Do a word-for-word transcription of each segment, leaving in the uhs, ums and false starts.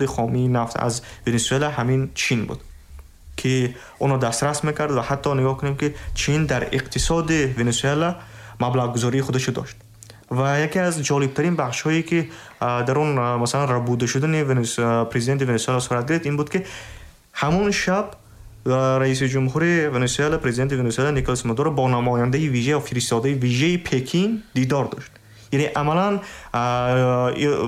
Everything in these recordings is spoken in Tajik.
Хоми нафт аз Венесуэла ҳамин Чин буд ки онро дастрас мекард ва ҳатто нигоҳ кунем ки Чин дар иқтисоди Венесуэла маблағгузории худашро дошт. Ва яке аз ҷолибтарин бахшҳое ки дар он масалан рабуда шудани президенти Венесуэла сурат гирифт, ин буд ки ҳамон шаб раиси ҷумҳури Венесуэла, президенти Венесуэла Николас Мадуро бо намояндаи вижа ё фиристодаи вижаи Пекин дидор дошт. Яъне амалан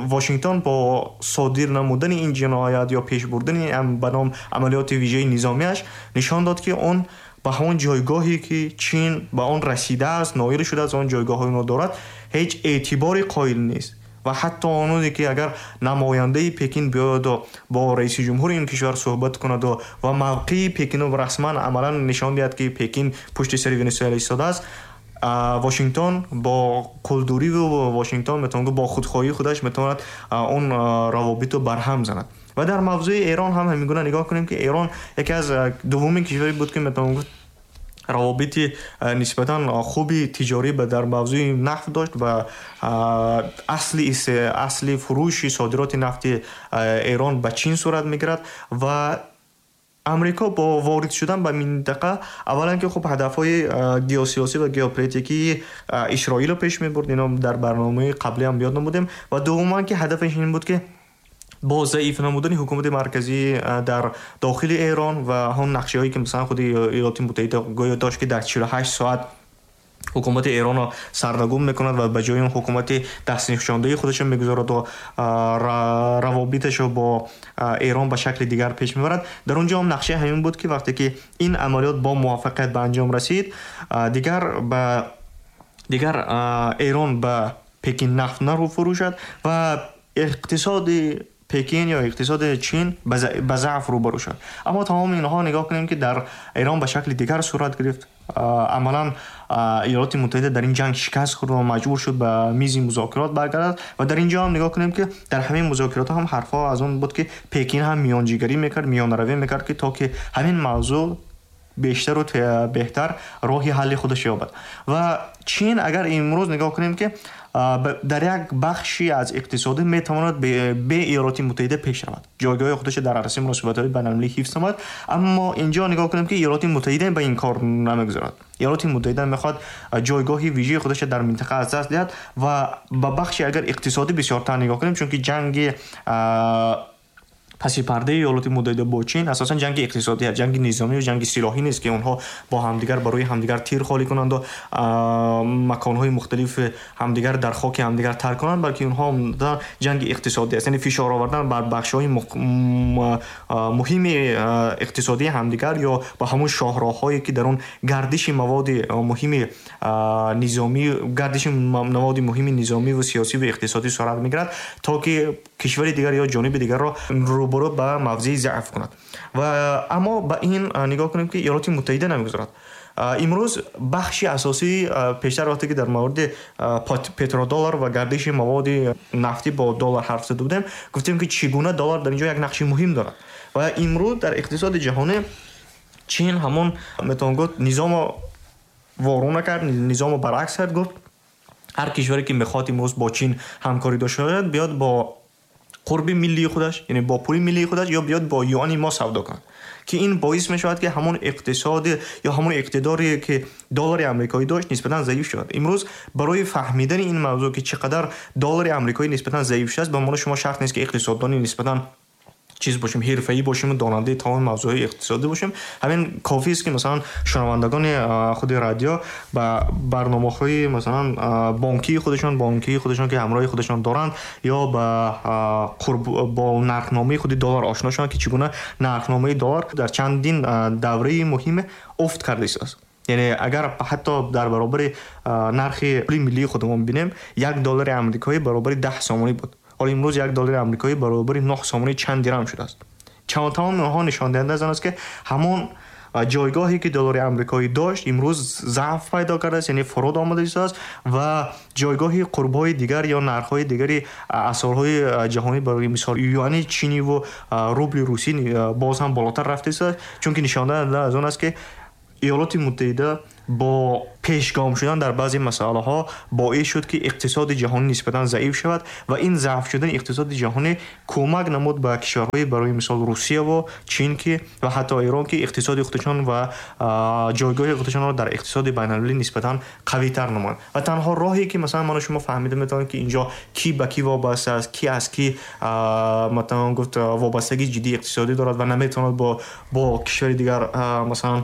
Вашингтон бо содир намудани ин ҷиноят ё пеш бурдани ба ном амалиёти вижаи низомиаш нишон дод, ки он ба ҳамон ҷойгоҳе ки Чин ба он расидааст, ноил шудааст, он ҷойгоҳҳои дорад, ҳеҷ эътиборе қоил нест. Ва ҳатто ононе ки агар намояндаи Пекин биёяду бо раиси ҷумҳури ин кишвар суҳбат кунаду ва мавқеи Пекинро расман амалан нишон диҳад, ки Пекин пушти сари Венесуэла истодааст, Вашингтон бо қулдурӣ, Вашингтон метавон гуфт, бо худхоҳии худаш метавонад он равобитро барҳам занад. Ва дар мавзӯи Эрон ҳам ҳамин гуна нигоҳ кунем, ки Эрон яке аз дуввумин кишваре буд, ки метавон гуфт, равобити нисбатан хуби тиҷорӣ дар мавзӯи нафт дошт ва асли асли фурӯши содироти нафти Эрон ба Чин сурат мегирад. Ва Амрико бо ворид шудан ба минтақа аввалан ки хуб ҳадафҳои геосиёсӣ ва геополитикии Исроилро пеш мебурд, ино дар барномаи қаблӣ ҳам ёд намудем, ва дуввуман ки ҳадафаш ин буд, ки бо заиф намудани ҳукумати марказӣ дар дохили Эрон ва ҳамон нақшаҳое ки масалан худи Иёлоти Муттаҳида гӯё дошт, ки дар чилу ҳашт соат ҳукумати Эронро сарнагун мекунад ва ба ҷои он ҳукумати дастнишондаи худашро мегузорад ва равобиташро бо Эрон ба шакли дигар пеш мебарад. Дар он ҷо ҳам нақшаи ҳамин буд, ки вақте ки ин амалиёт бо муваффақият ба анҷом расид, дигар ба дигар Эрон ба Пекин нафт нафурӯшад ва иқтисоди Пекин ё иқтисоди Чин ба заъф рӯбарӯ шуд. Аммо тамоми инҳо нигоҳ кунем, ки дар Эрон ба шакли дигар сурат гирифт. Амалан Иёлоти Муттаҳида дар ин ҷанг шикаст хӯрд ва маҷбур шуд ба мизи музокирот баргардад. Ва дар ин ҷо ҳам нигоҳ кунем, ки дар ҳамин музокирот ҳам ҳарфҳо аз он буд, ки Пекин ҳам миёнҷигарӣ мекард, миёнаравӣ мекард, ки то ки ҳамин мавзӯъ бештару беҳтар роҳи ҳалли худаш ёбад. Ва Чин агар имрӯз нигоҳ кунем, ки дар як бахши аз иқтисодӣ метавонад бе Иёлоти Муттаҳида пеш равад, ҷойгоҳи худашро дар арсаи муносибатҳои байналмилалӣ ҳифз намояд. Аммо инҷо нигоҳ кунем, ки Иёлоти Муттаҳида ба ин кор намегузорад. Иёлоти Муттаҳида мехоҳад ҷойгоҳи вижаи худашро дар минтақа аз даст диҳад. Ва ба бахши агар иқтисодӣ бисёртар нигоҳ кунем, чунки ҷанги паси пардаи Иёлоти Муттаҳида бо Чин асосан ҷанги иқтисодӣ аст, ҷанги низомӣ ва ҷанги силоҳӣ нест, ки онҳо бо ҳамдигар барои ҳамдигар тир холӣ кунанд ва маконҳои мухталифи ҳамдигар дар хоки ҳамдигар тарк кунанд, балки онҳо ҷанги иқтисодӣ аст, яъне фишор овардан бар бахшҳои муҳими иқтисодии ҳамдигар ё ба ҳамон шоҳроҳҳое, ки дар он гардиши маводи муҳими низомӣ, гардиши маводи муҳими низомӣ ва сиёсӣ ва иқтисодӣ сурат мегирад, то ки кишвари дигар ё ҷониби дигарро рӯбарӯ ба мавзеи заъф кунад. Ва аммо ба ин нигоҳ кунем, ки Иёлоти Муттаҳида намегузорад. Имрӯз бахши асосӣ, пештар вақте ки дар мавриди петродоллар ва гардиши маводи нафтӣ бо доллар ҳарф зада будем, гуфтем, ки чӣ гуна доллар дар инҷо як нақши муҳим дорад. Ва имрӯз дар иқтисоди ҷаҳонӣ Чин ҳамон метавон гуфт низомо ворона кард, низомо баръакс кард, гуфт ҳар кишваре ки мехоҳад имрӯз бо Чин ҳамкорӣ дошта бошад, биёд бо қурби миллии худаш, яъне бо пули миллии худаш, ё биёд бо юани мо савдо кунад, ки ин боис мешавад, ки ҳамон иқтисод ё ҳамон иқтидоре ки доллари амрикоӣ дошт, нисбатан заиф шавад. Имрӯз барои фаҳмидани ин мавзӯъ, ки чӣ қадар доллари амрикоӣ нисбатан заиф шудааст, ба мо шумо шарт нест, ки иқтисоддони нисбатан чиз бошем, ҳирфаӣ бошем ва донандаи тамоми мавзӯъҳои иқтисодӣ бошем. Ҳамин кофӣ аст, ки масалан шунавандагони худи радио ба барномаҳои масалан бонкии худашон бонкии худашон ки ҳамроҳи худашон доранд, ё ба қурб бо нархномаи худи доллар ошно шаванд, ки чӣ гуна нархномаи доллар дар чандин давраи муҳиме афт кардааст. Яъне агар ҳатто дар баробари нархи пули миллии худамон бинем, як доллари амрикоӣ баробари даҳ сомонӣ буд. Ҳоло имрӯз як доллари амрикоӣ баробари нӯҳ сомонӣ чанд дирам шудааст. Тамоми онҳо нишондиҳанда аз он аст, ки ҳамон ҷойгоҳе ки доллари амрикоӣ дошт, имрӯз заъф пайдо кардааст, яъне фуруд омадааст ва ҷойгоҳи қурбҳои дигар ё нархҳои дигари асъорҳои ҷаҳонӣ, барои мисол юани чинӣ ва рубли русӣ, боз ҳам болотар рафтааст, чунки нишондиҳанда аз он аст, ки Иёлоти Муттаҳида با پیشگام شدن در بعضی مسئله ها باعث شد که اقتصاد جهانی نسبتاً ضعیف شود و این ضعف شدن اقتصاد جهانی کمک نمود به کشورهای برای مثال روسیه و چین که و حتی ایران که اقتصاد خودشان و جایگاه خودشان را در اقتصاد بین‌المللی نسبتاً قوی تر نمایند. و تنها راهی که مثلا من و شما فهمیده میتونیم که اینجا کی به کی وابسته است، کی از کی مثلا گفت وابستگی جدی اقتصادی دارد و نمیتواند با با کشور دیگر مثلا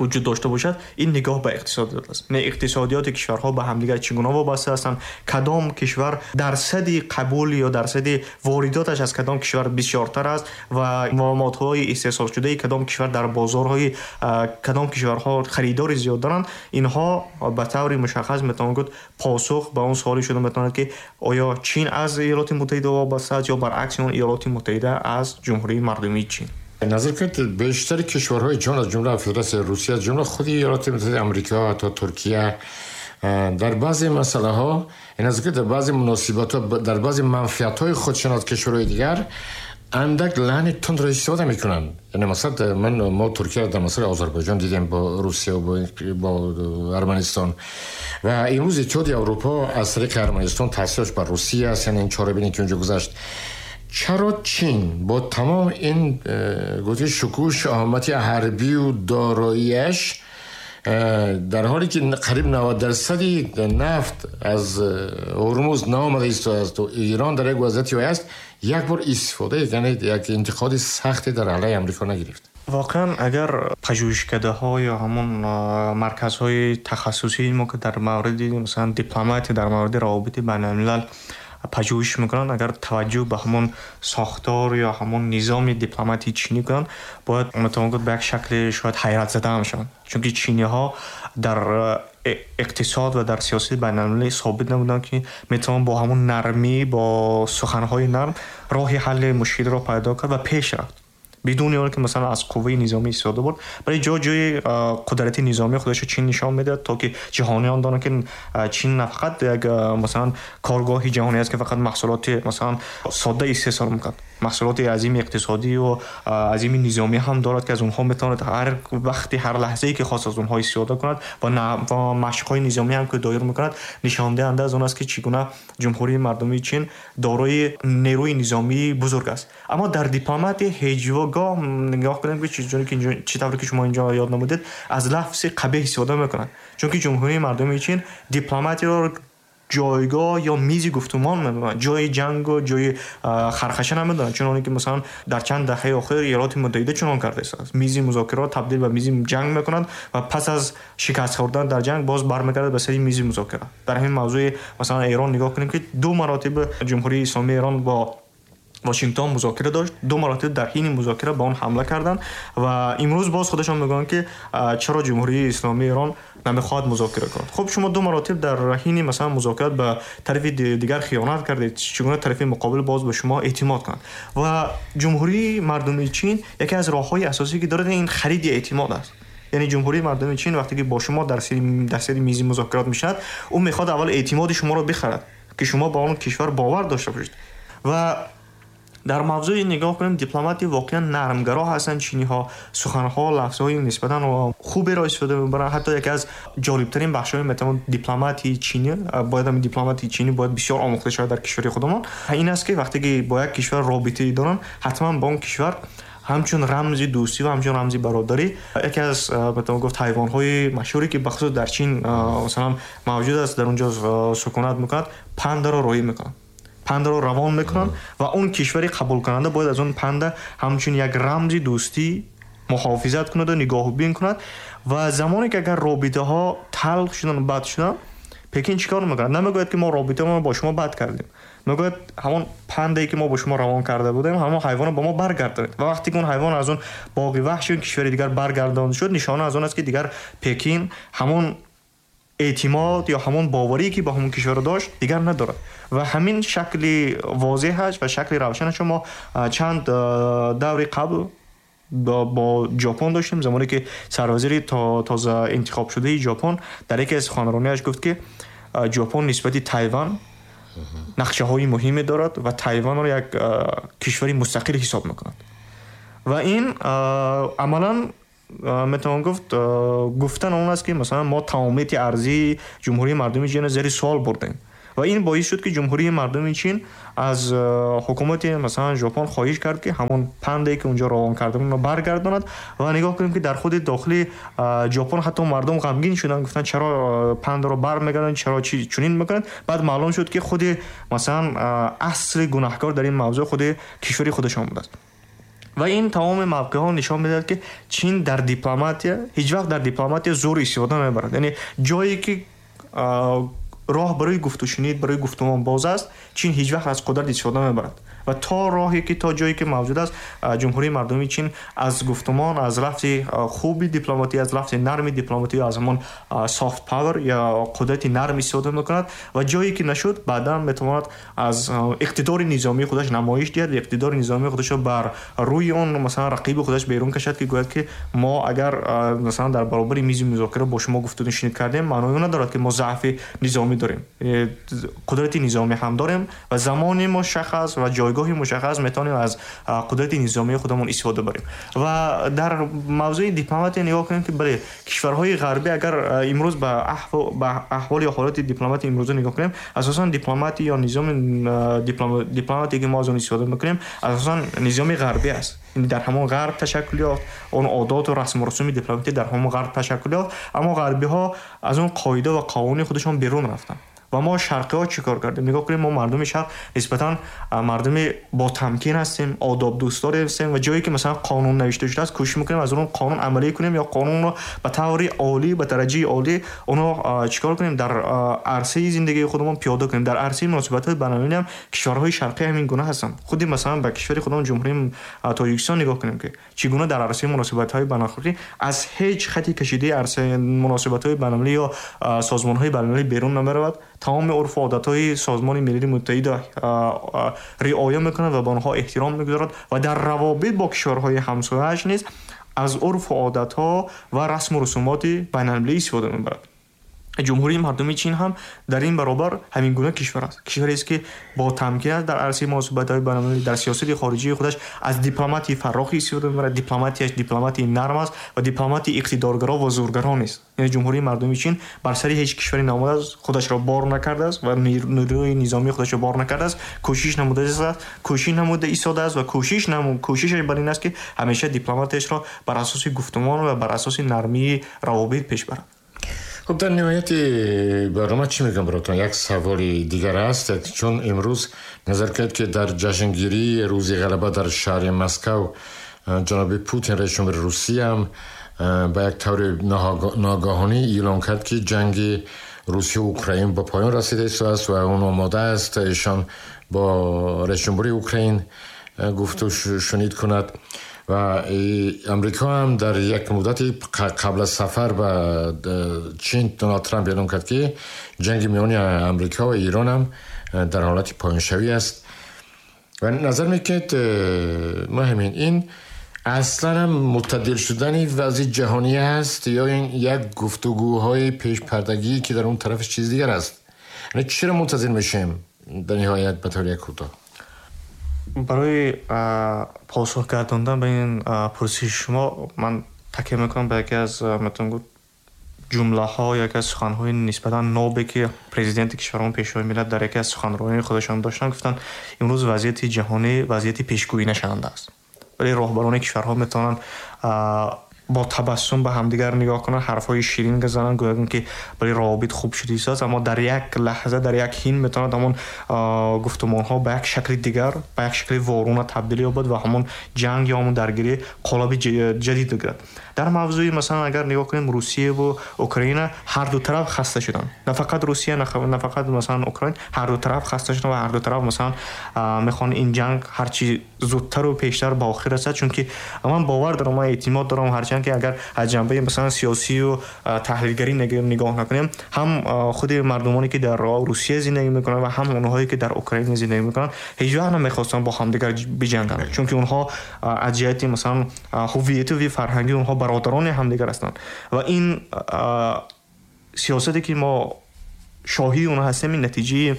وجود داشته باشد، این نگاه به اقتصادیات است. نه اقتصادیات کشورها به همدیگر چگونه وابسته هستند، کدام کشور درصد قبول یا درصد وارداتش از کدام کشور بسیارتر است و ماده‌های استحصال شده کدام کشور در بازارهای کدام کشورها خریدار زیاد دارند. اینها به طور مشخص میتوان گفت پاسخ به اون سوالی شده میتواند که آیا چین از ایالات متحده وابسته است یا برعکس اون ایالات متحده از جمهوری مردمی چین. نظر کنید بیشتر کشورهای جهان از جمله فدراسیون روسیه، از جمله خود ایالات متحده آمریکا تا ترکیه، در بعضی مسئله ها، نظر کنید در بعضی مناسبات ها، در بعضی منفعت های خودشان از کشورهای دیگر اندک لحن تند را استفاده میکنن. یعنی مثلا من ما ترکیه در مسئله آذربایجان دیدیم با روسیه و با, با ارمنستان و امروز اتحادیه اروپا از طریق ارمنستان تاثیرش بر روسیه است. یعنی این چاره بینی که اونجا گذشت. چرا چین با تمام این گفته شکوه شهامت حربی و داراییش، در حالی که قریب نود درصد نفت از هرمز نامده است و ایران در یک وضعیتی است، یک بار استفاده یعنی یک انتقاد سختی در علیه امریکا نگرفت؟ واقعا اگر پژوهشکده ها یا همون مرکزهای تخصصی ما که در مورد مثلا دیپلماتی، در مورد روابط بین الملل پژوهش میکنن، اگر توجه به همون ساختار یا همون نظام دیپلماتی چینی کنن، باید متوجه به یک شکل شاید حیرت زده هم شوند، چون که چینی ها در اقتصاد و در سیاست بین‌المللی ثابت نبودن که میتونن با همون نرمی، با سخنهای نرم راه حل مشکل را پیدا کرد و پیش رفت بدون اینکه که مثلا از قوه نظامی استفاده برد. برای جا جای قدرت نظامی خودش چین نشان میده تا که جهانیان دانند که چین نه فقط یک مثلا کارگاه جهانی است که فقط محصولات مثلا ساده استحصال میکند، محصولات عظیم اقتصادی و عظیم نظامی هم دارد که از اونها میتواند هر وقتی هر لحظه‌ای که خواست از اونها استفاده کند و و مشق‌های نظامی هم که دایر میکند نشان دهنده از اون است که چگونه جمهوری مردمی چین دارای نیروی نظامی بزرگ است. اما در دیپلماتی هیچگاه نگاه کنیم که چیزی که چه طوری که شما اینجا یاد نمودید از لفظ قبیح استفاده میکنند، چون که جمهوری مردمی چین دیپلماتی را جایگاه یا میز گفتمان میدونن، جای جنگ و جای خرخشه نمیدونن، چون که مثلا در چند دهه اخیر ایالات متحده چنان کرده است، میز مذاکرات تبدیل به میز جنگ میکنند و پس از شکست خوردن در جنگ باز برمیگرده به سر میز مذاکره. در همین موضوع مثلا ایران نگاه کنیم که دو مراتب جمهوری اسلامی ایران با واشنگتن مذاکره داشت، دو مراتب در حین مذاکره با اون حمله کردن و امروز باز خودشان میگن که چرا جمهوری اسلامی ایران نمیخواد مذاکره کند. خب شما دو مراتب در حین مثلا مذاکرات به طرف دیگر خیانت کردید، چگونه طرف مقابل باز به شما اعتماد کند؟ و جمهوری مردمی چین یکی از راه‌های اساسی که داره این خرید اعتماد است. یعنی جمهوری مردمی چین وقتی که با شما در سر در سر میز مذاکرات میشد، او میخواد اول اعتماد شما رو بخرد که شما با اون کشور باور داشته باشید. و در موضوع نگاه کنیم دیپلماتی واقعا نرمگرا هستند چینی ها، سخنها لفظهای نسبتا خوبی را استفاده میبرن. حتی یکی از جالبترین بخش‌های مثلا دیپلماتی چینی، باید هم دیپلماتی چینی باید بسیار آموخته شود در کشور خودمان، این است که وقتی که با یک کشور رابطه‌ای دارن حتما با اون کشور همچون رمز دوستی و همچون رمز برادری. یکی از مثلا گفت حیوان‌های مشهوری که بخصوص در چین مثلا موجود است، در اونجا سکونت میکند، پاندا را روی میکنند، پند رو روان میکنن و اون کشوری قبول کننده باید از اون پند همچون یک رمز دوستی محافظت کند و نگاهبین کند. و زمانی که اگر رابطه ها تلخ شدن و بد شدن، پکین چیکار میکنه؟ نمیگوید که ما رابطه ما با شما بد کردیم، میگوید همون پندی که ما با شما روان کرده بودیم همون حیوان رو با ما برگردانید. و وقتی که اون حیوان از اون باقی وحش اون کشور دیگر برگردانده شد، نشانه از اون است که دیگر پکین همون اعتماد یا همون باوری که با همون کشور داشت دیگر ندارد. و همین شکل واضح هست و شکل روشن شما چند دوری قبل با, با ژاپن داشتیم، زمانی که سروزیر تا تازه انتخاب شده ژاپن در یکی از سخنرانی‌اش گفت که ژاپن نسبت تایوان نقشه های مهمی دارد و تایوان را یک کشور مستقل حساب میکند. و این عملاً метавон гуфт гуфтан он аст, ки масалан мо тамомияти арзии Ҷумҳурии Мардумии Чинро зери суол бурдем ва ин боис шуд, ки Ҷумҳурии Мардумии Чин аз ҳукумати масалан Жопон хоҳиш кард, ки ҳамон панде ки унҷо равон карда буд, баргардонад. Ва нигоҳ кунем, ки дар худи дохили Жопон ҳатто мардум ғамгин шуданд, гуфтанд чаро пандро бармегардонанд, чаро чунин мекунанд. Баъд маълум шуд, ки худи масалан асли гунаҳкор дар ин мавзӯъ худи кишвари худашон будааст. Ва ин тамоми мавқеъҳо нишон медиҳад, ки Чин дар дипломатия ҳеҷ вақт дар дипломатия зӯр истифода намебарад. Яъне ҷое ки роҳ барои гуфтушунид, барои гуфтумон боз аст, Чин ҳеҷ вақт аз қудрат истифода намебарад. Ва то роҳе ки то ҷое ки мавҷуд аст, Ҷумҳурии Мардумии Чин аз гуфтумон, аз лафзи хуби дипломатӣ, аз лафзи нарми дипломатӣ, аз ҳамон soft power ё қудрати нарм истифода мекунад ва ҷое ки нашуд, баъдан метавонад аз иқтидори низомии худаш намоиш диҳад, иқтидори низомии худашро бар рӯи он масалан рақиби худаш берун кашад, ки гӯяд ки мо агар масалан дар баробари мизи музокира бо шумо гуфтушунид кардем, маънои он надорад, ки мо заъфи низомӣ дорем, қудрати низомӣ ҳам дорем ва замони мушаххас ва ҷойгоҳи мушаххас метавонем аз қудрати низомии худамон истифода барем. Ва дар мавзӯи дипломатия нигоҳ кунем, ки бале, кишварҳои ғарбӣ агар имрӯз ба аҳвол ё ҳолати дипломатии имрӯза нигоҳ кунем, асосан дипломатия ё низоми дипломатие ки мо аз он истифода мекунем, асосан низоми ғарбӣ аст. Дар ҳамон ғарб ташаккул ёфт, он одоту расму русуми дипломатӣ дар ҳамон ғарб ташаккул ёфт, аммо ғарбиҳо аз он қоида ва қонуни худашон берун рафтанд. Ва мо шарқиҳо чӣ кор кардем? Нигоҳ кунем, мо мардуми шарқ нисбатан мардуми ботамкин ҳастем, одобдӯстдор ҳастем ва ҷое ки масалан қонун навишта шудааст, кӯшиш мекунем аз он қонун амалӣ кунем ё қонунро ба таври олӣ, ба дараҷаи олӣ онро чӣ кор кунем, дар арсаи зиндагии худамон пиёда кунем. Дар арсаи муносибатҳои байналмилалӣ ҳам кишварҳои шарқӣ ҳамин гуна ҳастанд. Худи масалан ба кишвари худамон Ҷумҳурии Тоҷикистон нигоҳ кунем, ки чӣ гуна дар арсаи муносибатҳои байналмилалӣ аз ҳеҷ хати кашидаи арсаи муносибатҳои байналмилалӣ ё созмонҳои байналмилалӣ берун намеравад. Тамоми урфу одатҳои Созмони Милали Муттаҳидро риоя мекунад ва ба онҳо эҳтиром мегузорад ва дар равобит бо кишварҳои ҳамсояаш низ аз урфу одатҳо ва расму русумоти байналмилалӣ истифода мебарад. Ҷумҳурии Мардумии Чин ҳам дар ин баробар ҳамин гуна кишвар аст. Кишварест, ки бо тамкин аст дар арсаи муносибатҳои байналмилалӣ, дар сиёсати хориҷии худаш аз дипломатии фарохи истифода мебарад. Дипломатияш дипломатии нарм аст ва дипломатии иқтидоргаро ва зӯргаро нест. Яъне Ҷумҳурии Мардумии Чин бар сари ҳеҷ кишваре наомадааст, худашро бор накардааст ва нерӯи низомии худашро бор накардааст, кӯшиш намудааст, кӯшиш намуда истодааст ва кӯшиш намуд, кӯшишаш бар ин аст, ки ҳамеша дипломатияшро бар асоси гуфтумон ва бар асоси нармии равобит пеш барад. Хуб, дар ниҳояти барнома чӣ мегӯям баротон? Як саволи дигар аст, чун имрӯз назар кард, ки дар ҷашнгирии рӯзи ғалаба дар шаҳри Москав ҷаноби Путин, раиси ҷумҳури Русия, ҳам ба як таври ногаҳонӣ эълон кард, ки ҷанги Русия ва Украин ба поён расида истодааст ва он омода аст эшон бо раиси ҷумҳури Украин гуфту шунид кунад. Ва Амрико ҳам дар як муддати қабл аз сафар ба Чин Доналд Трамп эълон кард, ки ҷанги миёни Амрико ва Эрон ҳам дар ҳолати поёншавӣ аст. Ва назар мекунед, муҳимин ин аслан ҳам муттадил шудани вазъи ҷаҳонӣ аст ё ин як гуфтугӯҳои пешпардагӣ, ки дар он тарафаш чиз дигар аст? Яъне чиро мунтазир мешавем дар ниҳоят ба таври як кӯтоҳ? Барои посух гардондан ба ин пурсиши шумо ман такя мекунам ба яке аз метавон гуфт ҷумлаҳо, яке аз суханҳои нисбатан нобе, ки президенти кишварамон, Пешвои миллат дар яке аз суханрониҳои худашон доштанд. Гуфтанд, имрӯз вазъияти ҷаҳонӣ вазъияти пешгӯӣ нашаванда аст, вале роҳбарони кишварҳо метавонанд бо табассум ба ҳамдигар нигоҳ кунанд, ҳарфҳои ширин газананд, гӯянд, ки бале, равобит хуб шудааст, аммо дар як лаҳза, дар як ҳин метавонад ҳамон гуфтумонҳо ба як шакли дигар, ба як шакли воруна табдил ёбад ва ҳамон ҷанг ё ҳамон даргирӣ қолаби ҷадид бигирад. Дар мавзӯи масалан агар нигоҳ кунем, Русия ва Украина ҳар ду тараф хаста шуданд. На фақат Русия, на фақат масалан Украина, ҳар ду тараф хаста шуданд ва ҳар ду тараф масалан мехоҳанд ин ҷанг ҳарчи зудтар ва пештар ба охир расад, чунки ман бовар дорам, ман эътимод дорам, ҳарчанд ки агар аз ҷанбаи масалан сиёсӣ ва таҳлилгарӣ нигоҳ накунем, ҳам худи мардумоне ки дар Русия зиндагӣ мекунанд ва ҳам онҳое ки дар Украина зиндагӣ мекунанд, ҳеҷ вақт намехостанд бо ҳамдигар биҷанганд, чунки онҳо аз ҷиҳати масалан ҳувиятӣ ва фарҳангӣ онҳо бародарони ҳамдигар ҳастанд. Ва ин сиёсате ки мо шоҳии онҳо ҳастем, ин натиҷаи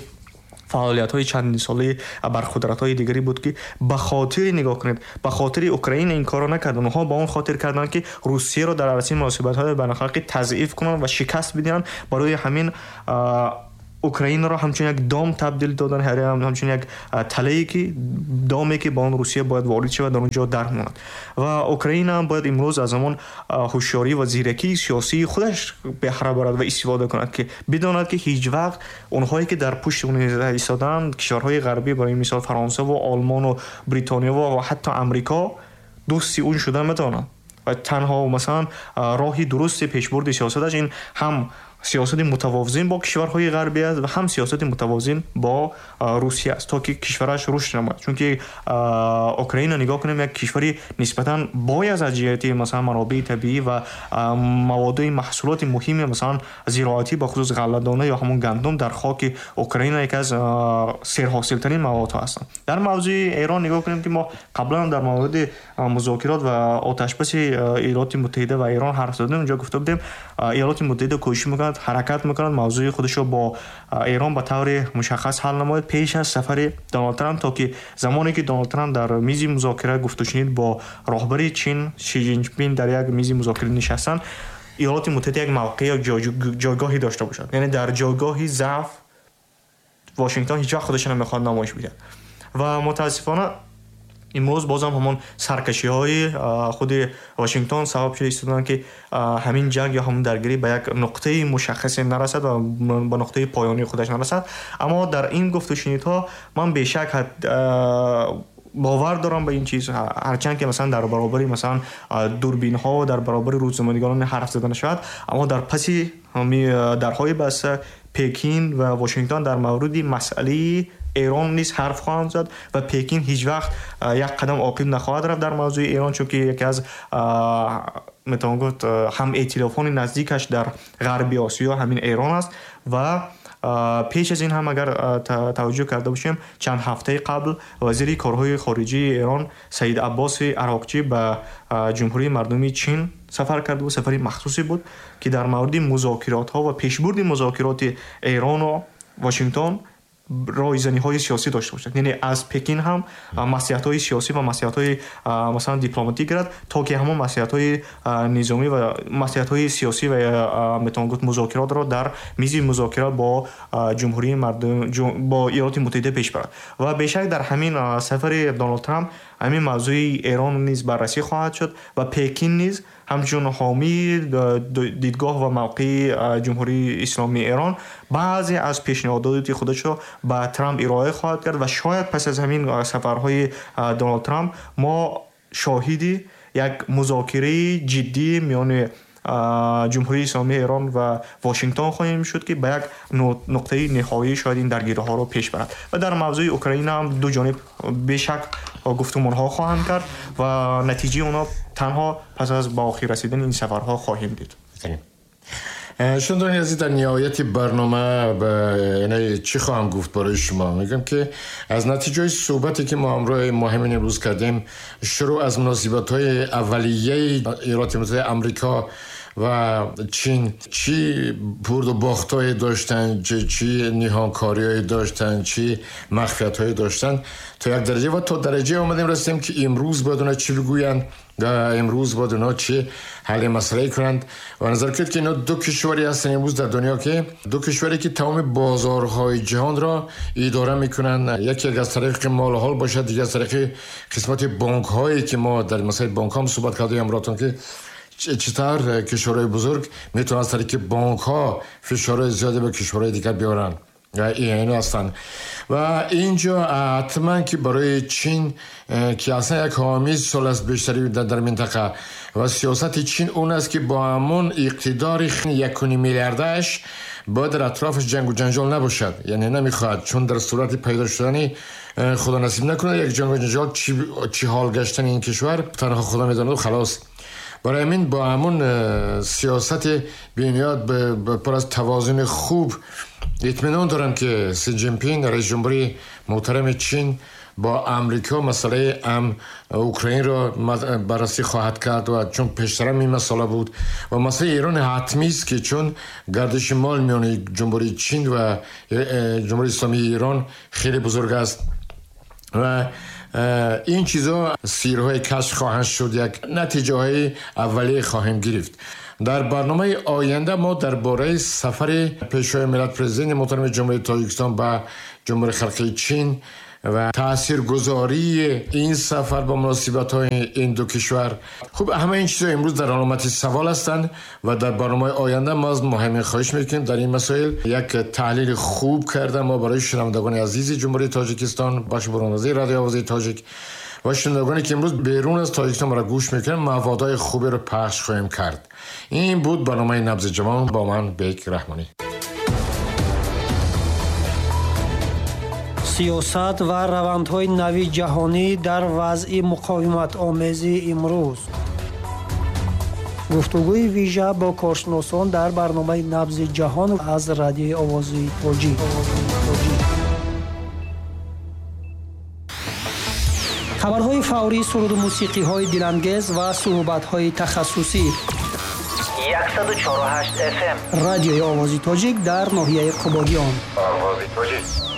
فعالیت‌های چندین ساله ابرقدرت‌های دیگری بود که به خاطر نگاه کنید به خاطر اوکراین این کارو نکردن، اونها با اون خاطر کردن که روسیه رو در عرصه مناسبت‌های بین‌المللی تضعیف کنن و شکست بدن. برای همین اوکراین را همچون یک دام تبدیل دادن، همچون یک تله‌ای که دامی که با آن روسیه باید وارد شود در اونجا درماند. و اوکراین هم باید امروز از آن هوشیاری و زیرکی سیاسی خودش بهره برد و استفاده کند که بداند که هیچ وقت اونهایی که در پشت اون ایستادن، کشورهای غربی برای مثال فرانسه و آلمان و بریتانیا و حتی امریکا، دوستی اون شدن میتونن. و تنها مثلا راه درست پیشبرد سیاستش این هم سیاست متوازن با کشورهای غربی است و هم سیاست متوازن با روسیه است تا که کشورش رشد نماید. چون که اوکراین نگاه کنیم یک کشوری نسبتاً باید از جهت مثلا منابع طبیعی و مواد محصولات مهم مثلا زراعتی به خصوص غله‌دانه یا همون گندم در خاک اوکراین یکی از سرحاصل‌ترین مواد هستند. در موضوع ایران نگاه کنیم که ما قبلا در مورد مذاکرات و آتش‌بس ایالات متحده و ایران حرف زدیم، اونجا گفته بودیم ایالات متحده کوشش می‌کند، حرکت میکنند موضوع خودش رو با ایران به طور مشخص حل نماید پیش از سفر دونالد ترامپ، تا که زمانی که دونالد ترامپ در میز مذاکره گفت و شنید با رهبر چین شی جین پینگ در یک میز مذاکره نشستن، ایالات متحده یک موقع یا جایگاهی داشته باشد. یعنی در جایگاهی ضعف واشنگتن هیچ وقت خودش نمیخواد نمایش بده و متاسفانه امروز بازم همون سرکشی های خود واشنگتن سبب شده ایستادن که همین جنگ یا همون درگیری به یک نقطه مشخص نرسد و به نقطه پایانی خودش نرسد. اما در این گفت و شنیدها من بیشک باور دارم به این چیز، هرچند که مثلا در برابر مثلا دوربین ها و در برابر روزنامه‌نگاران حرف زدن شود، اما در پس درهای بسته پکین و واشنگتن در مورد مسئله ایران نیز حرف خواهند زد و پکین هیچ وقت یک قدم عقب نخواهد رفت در موضوع ایران، چون که یکی از میتوان گفت هم ائتلافان نزدیکش در غرب آسیا همین ایران است. و پیش از این هم اگر توجه کرده باشیم چند هفته قبل وزیر کارهای خارجی ایران سید عباس عراقچی به جمهوری مردمی چین سفر کرد و سفری مخصوصی بود که در مورد مذاکرات ها و پیشبرد مذاکرات ایران و واشنگتن رایزنی‌های سیاسی داشته باشد. یعنی از پکین هم مصلحت‌های سیاسی و مصلحت‌های مثلا دیپلماتیک گرفت تا که همون مصلحت‌های نظامی و مصلحت‌های سیاسی و میتوان گفت مذاکرات را در میز مذاکره با جمهوری مردم با ایالات متحده پیش برد. و بیشک در همین سفر دونالد ترامپ همین موضوع ایران نیز بررسی خواهد شد و پکین نیز همچون حامی دیدگاه و موقع جمهوری اسلامی ایران بعضی از پیشنهادات خودش را به ترامپ ارائه خواهد کرد و شاید پس از همین سفرهای دونالد ترامپ ما شاهدی یک مذاکره جدی میان جمهوری اسلامی ایران و واشنگتن خواهیم شد که به یک نقطه نهایی شاید این درگیری‌ها رو پیش برد. و در موضوع اوکراین هم دو جانب بیشک گفتمان‌ها خواهند کرد و نتیجه اونا تنها پس از با آخر رسیدن این سفرها خواهیم دید. شنوندگان عزیز، در نهایت برنامه یعنی چی خواهم گفت برای شما؟ میگم که از نتیجه صحبتی که ما همراه مهمین امروز کردیم، شروع از مناسبت‌های اولیه ایالات متحده آمریکا و چین، چی برد و باخت‌های داشتن، چی چی نهانکاری‌های داشتن، چی مخفیت‌های داشتن، تا یک درجه و تا درجه آمدیم رسیدیم که امروز باید اونا چی بگویند و امروز باید اونا چی حل مسئله کنند. و نظر کرد که اینا دو کشوری هستن امروز در دنیا که دو کشوری که تمام بازارهای جهان را اداره میکنن، یکی از طریق مال حال باشد، دیگه از طریق قسمت بانک هایی که ما در مسئله بانک هم صحبت کردیم امراتون که چطور کشورهای بزرگ میتونن از طریق بانک ها فشارهای زیادی به کشورهای دیگر بیارن و این هستن. و اینجا حتما که برای چین که اصلا یک حامی سال است بیشتری در منطقه و سیاست چین اون است که با همون اقتدار یک و نیم میلیاردش باید در اطرافش جنگ و جنجال نباشد، یعنی نمیخواد، چون در صورت پیدا شدن خدا نصیب نکنه یک جنگ و جنجال چی, چی حال گشتن این کشور تنها خدا میداند و خلاص. برای همین با همون سیاست بینیاد پر از توازن خوب اطمینان دارم که سی جین پینگ رئیس جمهوری محترم چین با امریکا مسئله ام اوکراین را بررسی خواهد کرد و چون پیشتر این مسئله بود و مسئله ایران حتمی است که چون گردش مال میان جمهوری چین و جمهوری اسلامی ایران خیلی بزرگ است و این چیزا سیرهای کشف خواهند شد، یک نتیجه های اولیه خواهیم گرفت. در برنامه آینده ما درباره سفر پیشوای ملت پرزیدنت محترم جمهوری تاجیکستان به جمهوری خلقی چین و تاثیرگذاری این سفر با مناسبت های این دو کشور، خب همه این چیزها امروز در علامت سوال هستند و در برنامه آینده ما از مهمی خواهش میکنیم در این مسائل یک تحلیل خوب کرده ما برای شنوندگان عزیز جمهوری تاجیکستان، بخش برنامه‌ریزی رادیو آوازی تاجیک و شنوندگانی که امروز بیرون از تاجیکستان ما را گوش میکنن موادهای خوبی رو پخش خواهیم کرد. این بود برنامه نبض جوان با من بیک رحمانی. سیاست و روندهای نوی جهانی در وضع مقاومت آمیز امروز. گفتگوی ویژه با کارشناسان در برنامه نبض جهان از رادیوی آوازی تاجیک. خبرهای فوری، سرود و موسیقی‌های دلانگیز و صحبت‌های تخصصی. صد و چهل و هشت اف ام رادیوی آوازی تاجیک در ناحیه قبادیان. آوازی تاجیک.